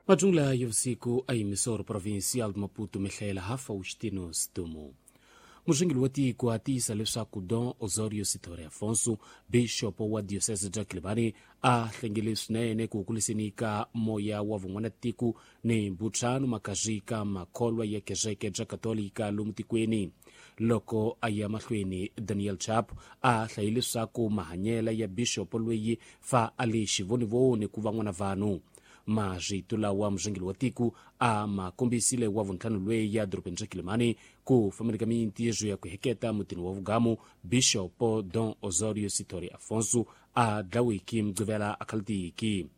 Majungula ya vusiku a emissora provincial de Maputo mihlayela ha Faustino Stumo. Murhangeri wa tiko a tiyisa leswaku Don Osorio Sithole Afonso, bixopo wa diocese bya Quelimane, a hlengele swinene ku kuliseni ka moya wa vun'wanatiko ni mbutsano makazwi ka makholwa ya kereke bya katolika lomu tikweni. Loko a ya mahlweni, Daniel Chapo a hlaye leswaku mahanyela ya bixopo loyi fa a le xivonivoni ku van'wana vanhu. Marito lawa murhangeri wa tiko a ma kombisile wa vuntlhanu lweyi ya dorobeni ra Quelimane ku fambeni ka mintirho ya ku heketa mutini wa vugamu bixopo Don Osorio Sithole Afonso a dlawiki mugqivela a khaltiki.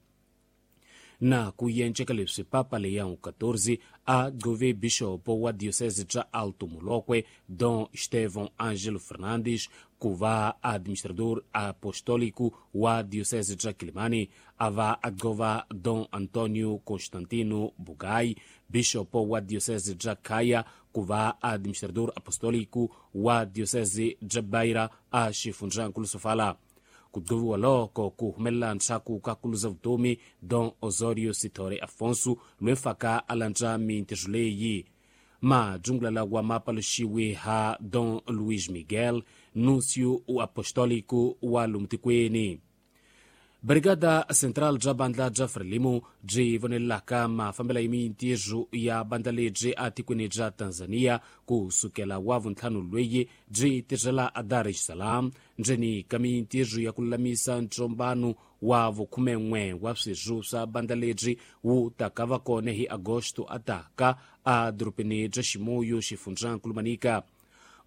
Na ku yenceka leswi, Papa Leão XIV a gqove bixopo wa diocese bya Alto Molokwe Don Estevão Ângelo Fernandes ku va administrador apostólico wa diocese bya Quelimane, a va a gqova Don Antonio Constantino Bugai, bixopo wa diocese bya Caia, ku va administrador apostólico wa diocese bya Beira a xifundzankulu Sofala. Ku gqoviwa loko ku humelela ntshaku ka kuluza vutomi Don Osorio Sithole Afonso loyi faka a landza mintirho leyi. Majungula lawa ma paluxiwe ha Don Luis Miguel, nuncio apostólico wa lomu tikweni. Brigada Central bya bandla bya Frelimo byi vonelelaka mafambelo ya mintirho ya bandla lebyi atikweni bya Tanzania ku sukela wa vuntlhanu lweyi byi tirhela a Dar es Salaam ndzeni ka mintirho ya ku lulamisa ntsombano wa vukhumen'we wa swirho swa bandla lebyi wu taka va kona hi Agosto a taka a dorobeni bya Chimoio, xifundzankulu Manica.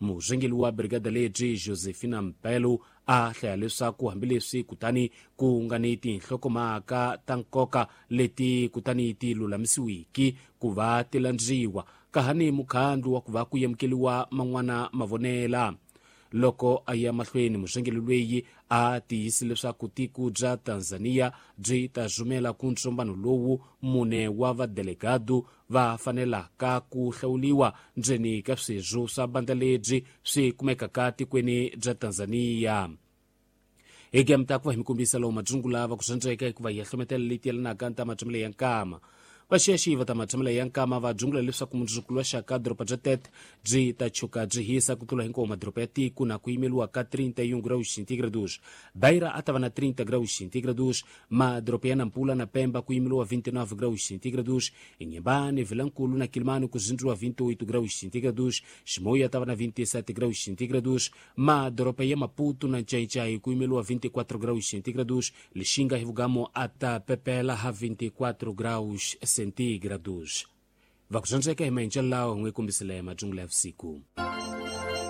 Murhangeri wa brigada lebyi Josephina Mpelo a hlaya leswaku hambileswi kutani ku nga ni tinhlokomhaka ta nkoka leti kutani ti lulamisiwiki ku va ti landziwa ka ha ni mukhandlu wa ku va ku yamukeliwa man'wana mavonela. Loko a ya mahlweni, murhangeri loyi a tiyisi leswaku tiko bya Tanzania byi ta rhumela ku ntsombano lowu mune wa vadelegado va fanelaka ku hlawuliwa ndzeni ka swirho swa bandla lebyi swi kumekaka tikweni bya Tanzania. Hi ta ku va hi mi kombisa lowu madzungula va ku swandzeka hikuva hi ya hlometela leti yelanaka ta matshamelo ya nkama. Vaxiyaxiyi va ta matshamelo ya nkama va dzungula leswaku mundzuku wa xaka doroba bya Tete byi ta chuka byi hisa ku tlula hinkwawo madoroba ya tiko na ku yimeliwa ka 31 graus centígrados. Beira a ta va na 30 graus centígrados, madoroba ya Nampula na Pemba ku yimeliwa 29 graus centígrados, Inhambane, Vilankulo na Quelimane ku zindziwa 28 graus centígrados, Chimoio a ta va na 27 graus centígrados, madoroba ya Maputo na Nchaichai ku yimeliwa 24 graus centígrados, Lixinga hi Vugamo a ta pepela ha 24 graus centígrados. Va ku swandzeka hi maenxelo lawa hi n'wi kombisile madzungula ya vusiku.